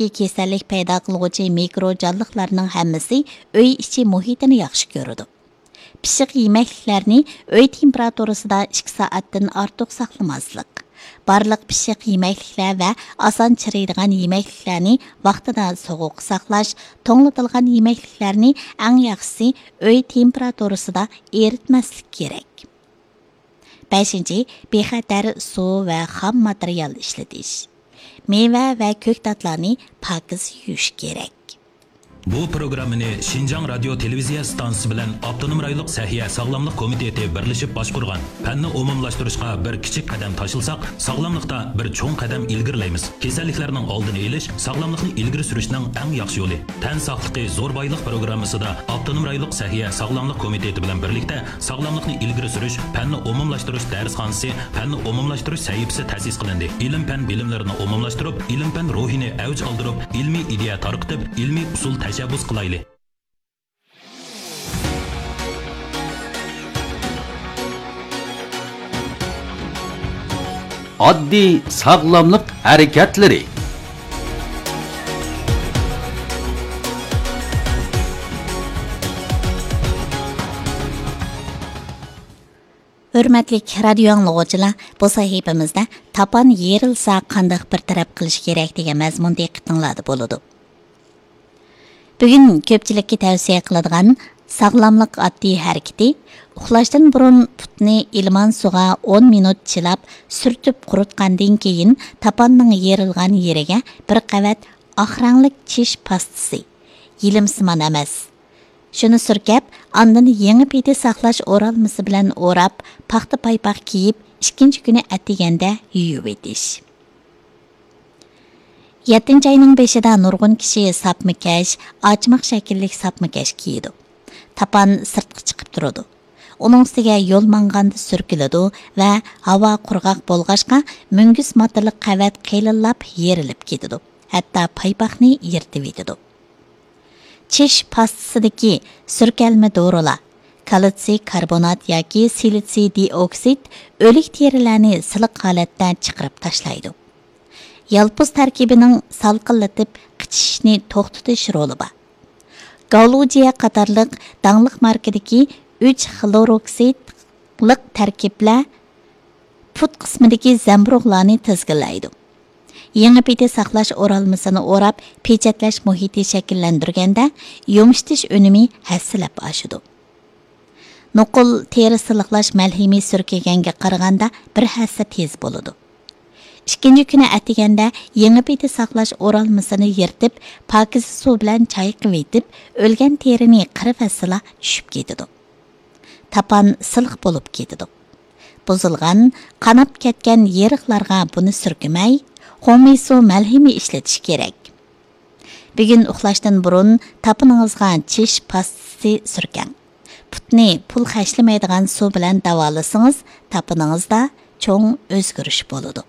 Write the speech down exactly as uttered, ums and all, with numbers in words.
ئىچىدىكى كېسەللىك پەيدا قىلغۇچى مىكرو جانلىقلارنىڭ ھەممىسى ئۆي ئىچى مۇھىتىنى ياخشى كۆرىدۇ. پىششىق يېمەكلىكلەرنى ئۆي تېمپېراتۇرىسىدا ئىككى سائەتتىن ئارتۇق ساقلىماسلىق. بارلىق پىششىق يېمەكلىكلەر ۋە ئاسان چىرىيدىغان يېمەكلىكلەرنى ۋاقتىدا سوغۇق ساقلاش، توڭلىتىلغان يېمەكلىكلەرنى ئەڭ ياخشىسى ئۆي تېمپېراتۇرىسىدا ئېرىتمەسلىك كېرەك. بەشىنچى، بىخەتەر سۇ ۋە خام ماتېرىيال ئىشلىتىش. مېۋە ۋە كۆكتاتلارنى پاكىز يۇيۇش كېرەك. بۇ پروگراممىنى شىنجاڭ رادىيو تېلېۋىزىيە ئىستانسىسى بىلەن ئاپتونوم رايونلۇق سەھىيە ساغلاملىق كومىتېتى بىرلىشىپ باشقۇرغان. پەننى ئومۇملاشتۇرۇشقا بىر كىچىك قەدەم تاشلىساق، ساغلاملىقتا بىر چوڭ قەدەم ئىلگىرىلەيمىز. كېسەللىكلەرنىڭ ئالدىنى ئېلىش، ساغلاملىقنى ئىلگىرى سۈرۈشنىڭ ئەڭ ياخشى يولى. تەن ساقلىقى زور بايلىق پروگراممىسىدا ئاپتونوم رايونلۇق سەھىيە ساغلاملىق كومىتېتى بىلەن بىرلىكتە ساغلاملىقنى ئىلگىرى سۈرۈش، پەننى ئومۇملاشتۇرۇش دەرسخانىسى، پەننى ئومۇملاشتۇرۇش سەھىپىسى تەسىس قىلىندى. ئىلىم-پەن بىلىملىرىنى ئومۇملاشتۇرۇپ، ئىلىم-پەن روھىنى ئەۋج ئالدۇرۇپ، ئىلمىي ئىدىيە تارقىتىپ، ئىلمىي ئۇسۇل تەشەببۇس قىلايلى. ئاددىي ساغلاملىق ھەرىكەتلىرى. ھۆرمەتلىك رادىيو ئاڭلىغۇچىلار، بۇ سەھىپىمىزدە تاپان يېرىلسا قانداق بىر تەرەپ قىلىش كېرەك دېگەن مەزمۇن دىققىتىڭلاردا بولىدۇ. بۈگۈن كۆپچىلىككە تەۋسىيە قىلىدىغان ساغلاملىق ئاددىي ھەرىكىتى، ئۇخلاشتىن بۇرۇن پۇتنى ئىلمان سۇغا ئون مىنۇت چىلاپ سۈرتۈپ قۇرۇتقاندىن كېيىن، تاپاننىڭ يېرىلغان يېرىگە بىر قەۋەت ئاق رەڭلىك چىش پاستىسى، يېلىمسىمان ئەمەس، شۇنى سۈركەپ، ئاندىن يېڭى پېتى ساقلاش ئورالمىسى بىلەن ئوراپ، پاختا پايپاق كىيىپ، ئىككىنچى كۈنى ئەتىگەندە يۇيۇۋېتىش. يەتتىنچى ئاينىڭ بېشىدا نۇرغۇن كىشى ساپما كەش، ئاچىمىق شەكىللىك ساپما كەش كىيىدۇ. تاپان سىرتقا چىقىپ تۇرىدۇ. ئۇنىڭ ئۈستىگە يول ماڭغاندا سۈركىلىدۇ ۋە ھاۋا قۇرغاق بولغاچقا، مۈڭگۈز ماتىلىق قەۋەت قېلىنلاپ يېرىلىپ كېتىدۇ، ھەتتا پايپاقنى يىرتىۋېتىدۇ. چىش پاستىسىدىكى سۈركەلمە دورىلار، كالتسىي كاربونات ياكى سىلىتسىي دىئوكسىد ئۆلۈك تېرىلەرنى سىلىق ھالەتتە چىقىرىپ تاشلايدۇ. يالپۇز تەركىبىنىڭ سالقىنلىتىپ قىچىشىشنى توختىتىش رولى بار. گاۋلۇجيە قاتارلىق داڭلىق ماركىدىكى ئۈچ خلوروكسىدلىق تەركىبلەر پۇت قىسمىدىكى زەمبۇرۇغلارنى تىزگىنلەيدۇ. يېڭى پېتى ساقلاش ئورالمىسىنى ئوراپ، پېچەتلەش مۇھىتى شەكىللەندۈرگەندە، يۇمشىتىش ئۈنۈمى ھەسسىلەپ ئاشىدۇ. نوقۇل تېرە سىلىقلاش مەلھىمى سۈركىگەنگە قارىغاندا بىر ھەسسە تېز بولىدۇ. ئىككىنچى كۈنى ئەتىگەندە يېڭى پېتى ساقلاش ئورالمىسىنى يىرتىپ، پاكىز سۇ بىلەن چايقىۋېتىپ، ئۆلگەن تېرىنى قىرىۋەتسىلا چۈشۈپ كېتىدۇ. تاپان سىلىق بولۇپ كېتىدۇ. بۇزۇلغان، قاناپ كەتكەن يېرىقلارغا بۇنى سۈركىمەي، خۇڭمىسۇ مەلھىمى ئىشلىتىش كېرەك. بۈگۈن ئۇخلاشتىن بۇرۇن تاپىنىڭىزغا چىش پاستىسى سۈركەڭ. پۇتنى پۇل خەجلىمەيدىغان سۇ بىلەن داۋالىسىڭىز، تاپىنىڭىزدا چوڭ ئۆزگىرىش بولىدۇ.